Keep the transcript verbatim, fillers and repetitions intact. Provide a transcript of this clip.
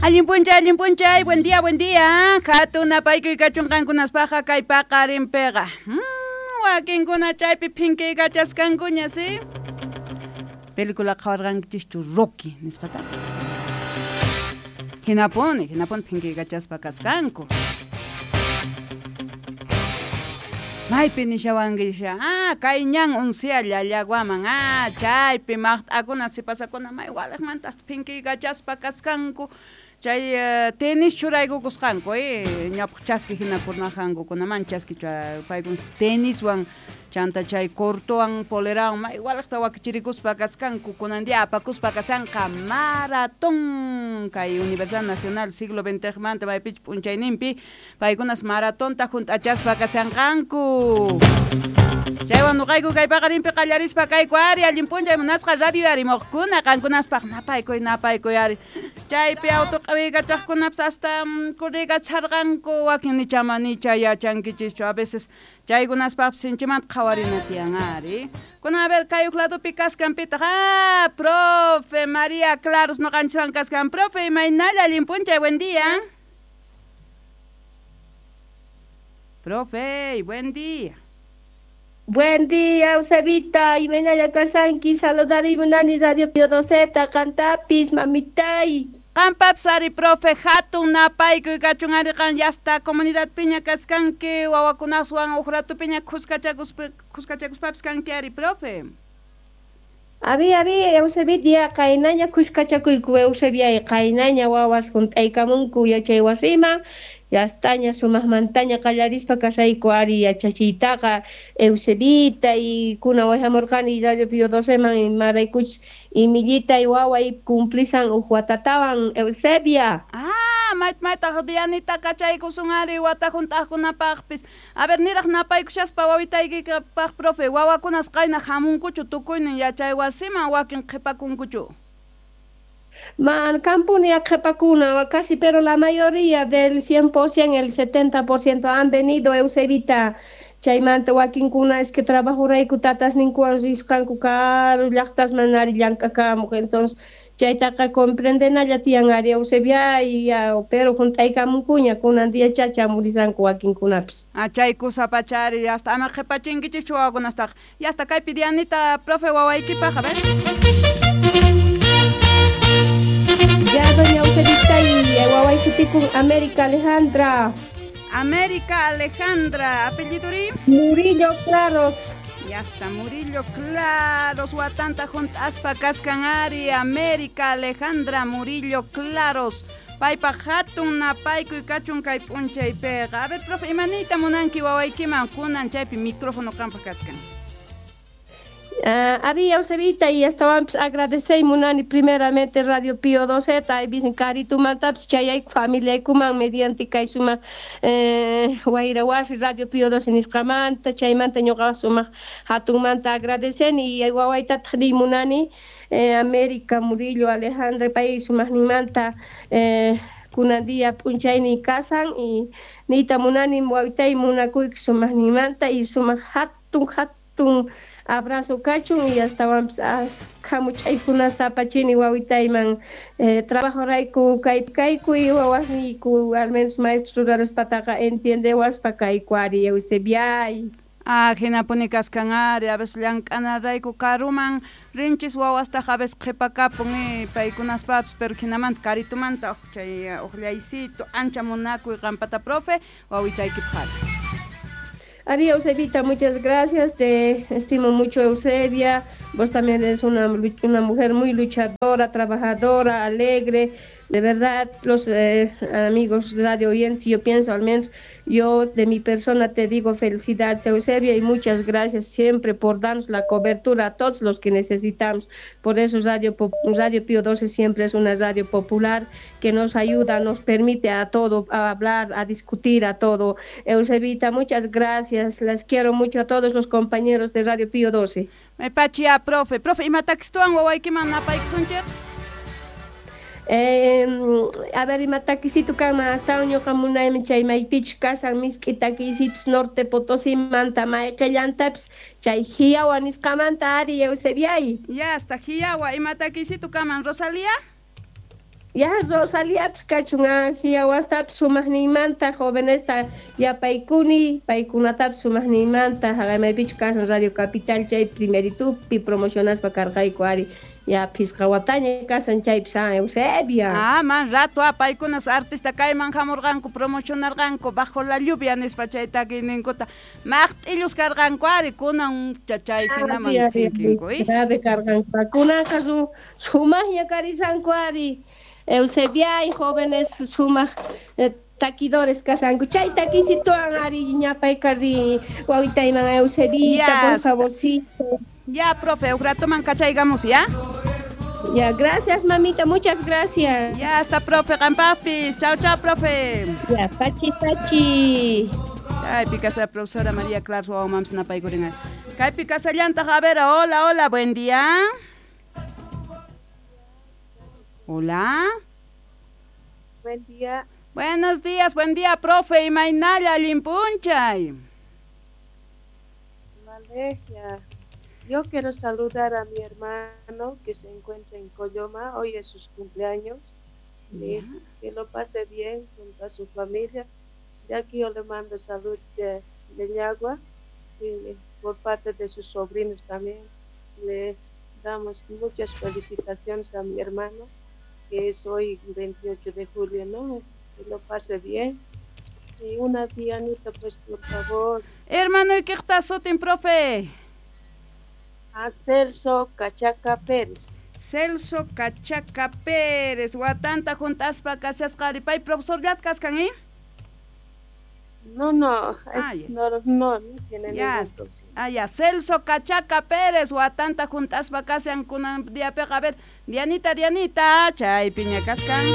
Allin p'unchay, allin p'unchay, buen día, buen día. Hatun napaykuy kachun qankunaspaqqa kay paqarinpiqa. Hmm, wakinkuna chaypi phinkikachaskankuña, ¿sí? Película qhawarqankichischu Rocky nisqata. Hinapuni, hinapuni phinkikachaspa kasqanku. Maypi nishawankisha, ah, kay ñan uncia llallaguaman, ah, chaypi maqt'akuna sipasakuna may waliqmanta hasta phinkikachaspa kasqanku. Chay uh, tenis churaykukusqanku, eh, ñawpaq chaski hina kurnajankukunaman chaski paykuna teniswan chanta chay cortowan polerawan may waliqta wakichirikuspa kasqanku kunan día apakuspa kashanqa maratón kay Universidad Nacional siglo veinte manta maypichu p'unchayninpi paykunas maratonta hunt'achaspa kashanqanku. Chaywan nuqayku kay paqarinpi qallarispa kayku ari allin p'unchay munasqa radio arimuqkuna qankunaspaq napaykuy napaykuy ari. Chaypi auto q'iwiykachaqkunapas hasta kurriykacharqanku wakin nichama nicha yachankichischu a veces chaykunaspaqpis sinchimanta qhawarina tiyan ari. Kuna a ver kay huk ladopi kaskanpitaq ah profe María Claros nuqanchiswan kaskan profe imaynalla allin p'unchay buen día. Profe, buen día. Buen día, Eusebita, imaynalla kasanki, saludari munani Radio Pío Doceta, qantapis, mamitay. Qampapis ari profe hatun napaykuy kachun ari qan yasta comunidad piña kaskanki wawakunaswan huk ratu piña khuskachakuspa khuskachakuspapis kanki ari profe. Ari, ari, Eusebita, qaynaña khuskachakuyku Eusebia, qaynaña wawas hunt'aykamunku yachay wasiman, yastaña sumaqmantaña qallarispa kasayku ari yachachiytaqa Eusebita y kuna wayhamurqani Radio Pío Doceman imaraykuchus imillita y waway cumplisan huk watatawan Eusebia. Ah, mayt maytaq Dianita kachaykusun ari wata hunt'aqkunapaqpis. A ver, niraq napaykushaspa wawitaykipaq profe, wawakunas qayna hamunkuchu tukuynin yachay wasiman wakin qhipakunkuchu. Man, kampuni qhipakuna casi, pero la mayoría del cien por ciento, el setenta por ciento han venido Eusebita. Chaymanta wakinkuna es que trabajurayku tatasninkuwan risqanku karu llaqtasman ari llank'akamuq, entonces chaytaqa comprendenalla tiyan ari Eusebia y ya, pero hunt'aykamunkuña kunan día chachamurisqanku wakinkunapis. Ah, chay kusa pachari hasta ama qhipachinkichikchu wawakunastaqa. Ya hasta kaypi Dianita profe wawaykipaq, a ver. Ya, doña Eusebita y waway sutikun América Alejandra. América Alejandra, apelliduri? Murillo Claros. Ya está, Murillo Claros, watanta hunt'aspa kaskan ari, América Alejandra Murillo Claros. Paypaq hatun napaykuy kachun kay p'unchaypiqa. A ver, profe, imaniyta munanki wawaykiman kunan chaypi micrófono qampaq kaskan. Uh, ari Eusebita y astawanpis agradecey munani primeramente Radio Pío Doceta y bisin karitumantapis chayayku familiaykuman mediante kay sumaq eh, wayra wasi Radio Pío doce nisqamanta chaymanta ñuqa sumaq hatunmanta agradeceni y wawaytataq niy munani eh, América Murillo Alejandra pay sumaqninmanta eh, kunan día p'unchaynin kasan y niyta munani wawitay munakuyki sumaqninmanta y sumaq hatun hatun abrazo kachun y astawanpis askha much'aykunasta apachini wawitayman eh, trabajorayku kaypi kayku y wawasniyku al menos maestros ruraspataqa entiendewaspa kayku ari Eusebiay. Ah, hinapuni kaskan ari, a veces llank'anarayku karuman rinchis wawastaq a veces qhipakapun eh, paykunaspapis, pero hinamanta karitumanta chay uqllaysitu ancha munakuy qampata profe wawitaykipaq. Ari Eusebita, muchas gracias, te estimo mucho Eusebia, vos también eres una, una mujer muy luchadora, trabajadora, alegre, de verdad los eh, amigos radio oyentes, yo pienso al menos, yo de mi persona te digo felicidades Eusebia y muchas gracias siempre por darnos la cobertura a todos los que necesitamos, por eso Radio, Radio Pío doce siempre es una radio popular que nos ayuda, nos permite a todo, a hablar, a discutir, a todo. Eusebita, muchas gracias, las quiero mucho a todos los compañeros de Radio Pío doce. Me pachia, profe, profe, imatakisituwan wawaykiman napaykusunchik? Eh, a ver, ima takisitu kanman astawan ñuqa munaymi chay maypichus kasan misk'i takisitus Norte Potosimanta mayqillantapis chay Hiyawa nisqamanta ari Eusebiay. Ya hasta Hiyawa, ima takisitu kaman Rosalía? Ya Rosaliapis kachun Angiawastapis sumaqninmanta jovenesta yapaykuni paykunatapis sumaqninmanta haqaymaypichu kasan Radio Capital chay primeritupi promocionaspa karqayku ari ya phisqa wataña kasan chaypis ah, Eusebia. Ah, man rato ah, paykunas artista kayman hamurqanku promocionarqanku bajo la lluvia nispa chay takiyninkuta maqt'illus karqanku ari kunan chay hinaman phinkinku grave karqanku kunanqa su sumaqña karisanku ari Eusebia y jóvenes sumaq eh, taquidores kasanku chay takisituan ari ñapaykarri wawitayman Eusebita por favorcito. Ya, profe, un rato man kachaygamos, ¿ya? Ya, gracias, mamita, muchas gracias. Ya, hasta profe, qampapis. Chao, chao, profe. Ya, pachi, pachi. Ay, picasa profesora María Clara wawamanpis napaykurin. Kaypi kasallantaq, a ver, hola, hola, buen día. Hola. Buen día. Buenos días, buen día, profe. Imaynalla allinpunchay. Maleja. Yo quiero saludar a mi hermano que se encuentra en Coyoma. Hoy es su cumpleaños. Yeah. Que lo pase bien junto a su familia. De aquí yo le mando salud de, de Yagua y por parte de sus sobrinos también. Le damos muchas felicitaciones a mi hermano, que es hoy veintiocho de julio, ¿no? Que lo pase bien. Y una pianita, pues, por favor. Hermano, ¿y qué está sutin, profe? A Celso Cachaca Pérez. Celso Cachaca Pérez. Watanta juntaspa kasasqa pay profesor llatkas ¿eh? No, no, es, ah, no, no, no tiene ya, ningún problema. Ah, ya, Celso Cachaca Pérez, watanta juntaspa kasian kunan diapeqa, a ver, Dianita, Dianita, chay piña kaskan.